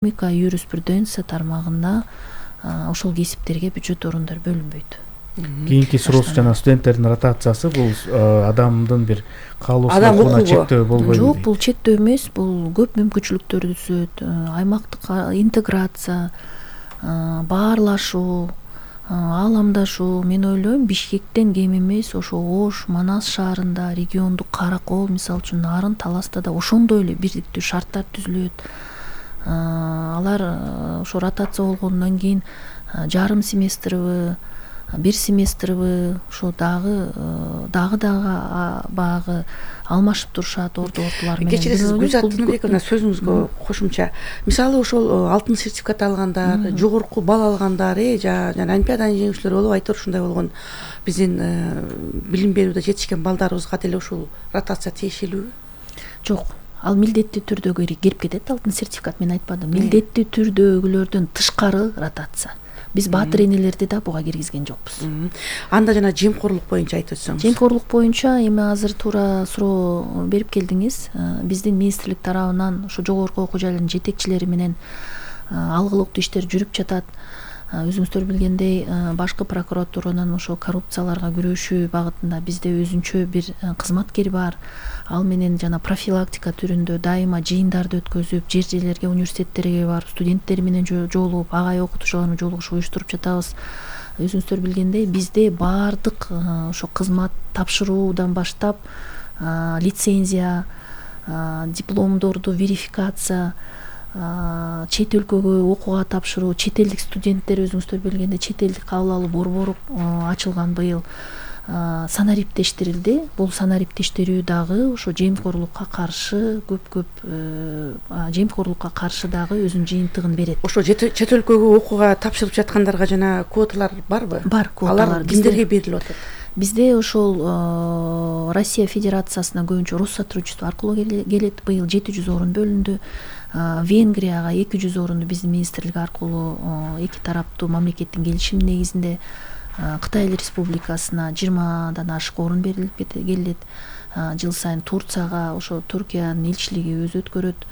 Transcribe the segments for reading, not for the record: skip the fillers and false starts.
экономика, юриспруденция тармагында ошол кесиптерге бюджет орундар бөлүнбөйт. Кийинки суроосу жана студенттердин ротациясы бул адамдын бир каалоосуна чектөө болбойбу? Жок, бул чектөө эмес, бул көп мүмкүнчүлүктөрдү түзөт. Аймактык интеграция, баарлашуу, ааламдашуу. Мен ойлойм, Бишкектен кем эмес, ошо Ош, Манас шаарында, региондук Каракол мисалы үчүн Нарын, Таласта да ошондой эле бирдиктүү шарттар түзүлөт. Алар ошо ротация болгондон кийин жарым семестрбы, бир семестрбы ошо дагы баягы алмашып турушат ортолар менен. Кечиресиз, Гүлзат Тыныбековна, сөзүңүзгө кошумча, мисалы ошол алтын сертификат алгандар, жогорку балл алгандар, жана олимпиаданын жеңүүчүлөрү болуп айтор ушундай болгон, биздин билим берүүдө жетишкен балдарыбызга деле ушул ротация тиешелүүбү? Жок. Ал милдеттүү түрдө кирип кетет, алтын сертификат, мен айтпадым. Милдеттүү түрдөгүлөрдөн тышкары ротация. Биз баатыр энелерди да буга киргизген жокпуз. Анда жана жемкорлук боюнча айтып өтсөңүз. Жемкорлук боюнча эми азыр туура суроо берип келдиңиз. Биздин министрлик тарабынан ушу жогорку окуу жайлардын жетекчилери менен алгылыктуу иштер жүрүп жатат. Өзүңүздөр билгендей, башкы прокуратуранын ошо коррупцияларга күрөшүү багытында бизде өзүнчө бир кызматкер бар. Ал менен жана профилактика түрүндө дайыма жыйындарды өткөзүп, жерлерге, университеттерге барып, студенттер менен жолугуп, агай окутуучулар менен жолугушуп уюштуруп жатабыз. Өзүңүздөр билгендей, бизде баардык ошо кызмат тапшыруудан баштап лицензия, дипломдорду верификация, чет өлкөгө окууга тапшыруу, чет элдик студенттер, өзүңүздөр билгендей, чет элдик кабыл алуу борбору ачылган быйыл. Санариптештирилди. Бул санариптештирүү дагы ошо жемкорлукка каршы көп жемкорлукка каршы дагы өзүнүн жыйынтыгын берет. Ошо чет өлкөгө окууга тапшырып жаткандарга жана квоталар барбы? Бар, квоталар. Алар кимдерге берилип атат? Бизде ошол Россия Федерациясына көбүнчө Россотрудничество аркылуу келет. Быйыл 700 орун бөлүндү. Венгрияга 200 орунду биздин министрлик аркылуу эки тараптуу мамлекеттин келишими негизинде, Кытай Республикасына 20дан ашык орун берилип келет. Жыл сайын Турцияга, ошо Түркиянын элчилиги өзү өткөрөт.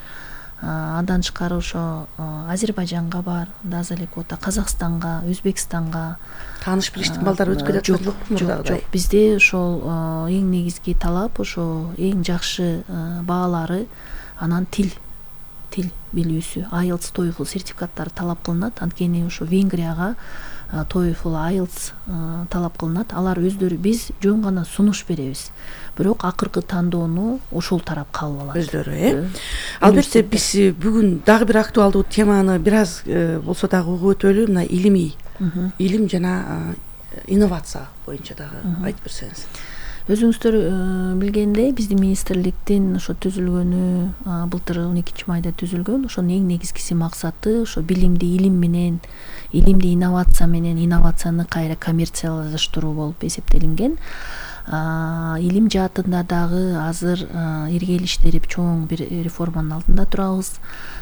Андан тышкары ошо Азербайжанга бар, дазы эле квота, Казакстанга, Өзбекстанга. Тааныш билиштин балдар өтүп кетип аткан жокпу мурдагыдай? Жок, бизде ошол эң негизги талап, ошо эң жакшы баалары, анан тил билүүсү, IELTS, TOEFL сертификаттары талап кылынат. Анткени ошо Венгрияга TOEFL, IELTS талап кылынат. Алар өздөрү, биз жөн гана сунуш беребиз. Бирок акыркы тандоону ошол тарап кабыл алат. Өздөрү, Албетте, биз бүгүн дагы бир актуалдуу теманы бир аз болсо дагы угуп өтөлү. Мына илим жана инновация боюнча дагы айтып берсеңиз. Өзүңүздөр билгендей, биздин министрликтин ошо түзүлгөнү былтыр 12 майда түзүлгөн. Ошонун эң негизгиси максаты ошо билимди илим менен, илимди инновация менен, инновацияны кайра коммерциялаштыруу болуп эсептелинген. Илим жаатында дагы азыр иргелиштери чоң бир реформанын алдында турабыз.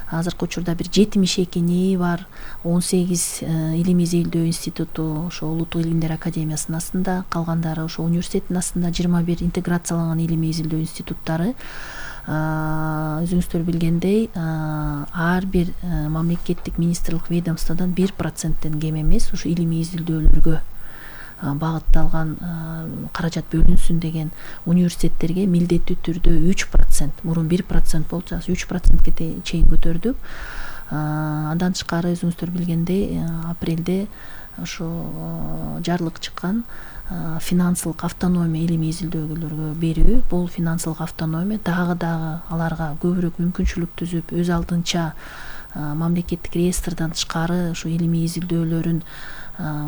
Азыркы учурда бир 72 НИИ бар, 18 илим изилдөө институту ошо Улуттук илимдер академиясынын астында, калгандары ошо университеттин астында 21 интеграцияланган илимий изилдөө институттары. Өзүңүздөр билгендей, ар бир мамлекеттик министрлик ведомстводан 1%тен кем эмес ушу илимий изилдөөлөргө багытталган каражат бөлүнсүн деген, университеттерге милдеттүү түрдө 3%, мурун 1% болчу, 3%ке чейин көтөрдүк. Андан тышкары өзүңүздөр билгендей, апрелде ошо жарлык чыккан финансылык автономия илимий изилдөөлөргө берүү. Бул финансылык автономия дагы аларга көбүрөөк мүмкүнчүлүк түзүп, өз алдынча мамлекеттик реестрден тышкары ошо илимий изилдөөлөрүн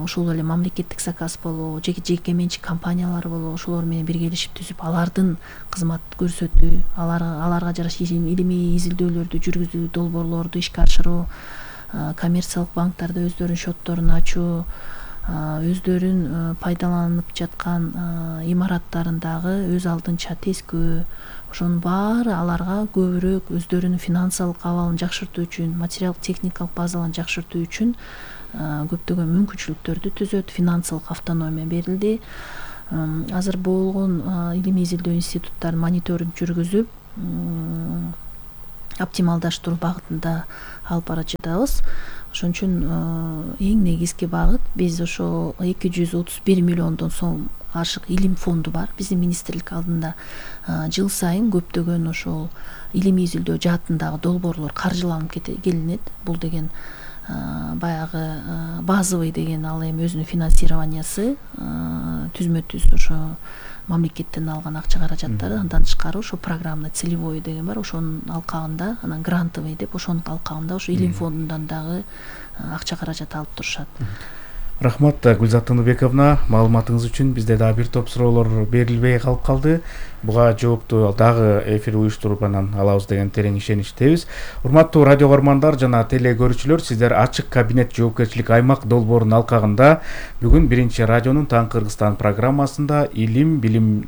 ошол эле мамлекеттик заказ болобу, жеке менчик компаниялар болобу, ошолор менен биргелешип түзүп, алардын кызмат көрсөтүү, аларга жараша илимий изилдөөлөрдү жүргүзүү, долбоорлорду ишке ашыруу, коммерциялык банктарда өздөрүнүн счетторун ачуу, өздөрүн пайдаланып жаткан имараттарындагы өз алдынча тескөө, ошонун баары аларга көбүрөөк өздөрүнүн финансылык абалын жакшыртуу үчүн, материалдык техникалык базаларын жакшыртуу үчүн көптөгөн мүмкүнчүлүктөрдү түзөт. Финансылык автономия берилди. Азыр болгон илимий изилдөө институттарын мониторинг жүргүзүп, оптималдаштыруу багытында алып бара жатабыз. Ошон үчүн эң негизги багыт биз ошо 231 миллиондон сом ашык илим фонду бар биздин министрлик алдында. Жыл сайын көптөгөн ошол илимий изилдөө жаатындагы долбоорлор каржыланып келинет. Бул деген баягы базовый деген ал эми өзүнүн финансированиясы түзмө түз ошо мамлекеттен алган акча каражаттары, андан тышкары ошо программный целевой деген бар, ошонун алкагында, анан грантовый деп ошонун алкагында ошо илим фондундан дагы акча каражат алып турушат. Рахмат Гүлзат Тыныбековна, маалыматыңыз үчүн. Бизде дагы бир топ суроолор берилбей калып калды. Буга жоопту дагы эфир уюштуруп анан алабыз деген терең ишеничтебиз. Урматтуу радио көрөрмандар жана теле көрүүчүлөр, сиздер ачык кабинет жоопкерчилик аймак долбоорунун алкагында бүгүн биринчи радионун Таң Кыргызстан программасында илим,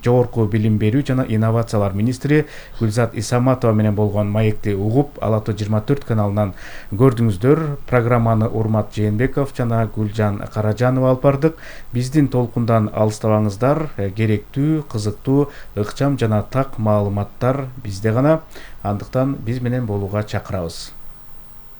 жогорку билим берүү жана инновациялар министри Гүлзат Исаматова менен болгон маекти угуп, Ала Тоо 24 каналынан көрдүңүздөр. Программаны Урмат Жээнбеков жана Гүлжан Каражанова алып бардык. Биздин толкундан алыстабаңыздар. Керектүү, кызыктуу, ыкчам жана так маалыматтар бизде гана. Андыктан биз менен болууга чакырабыз.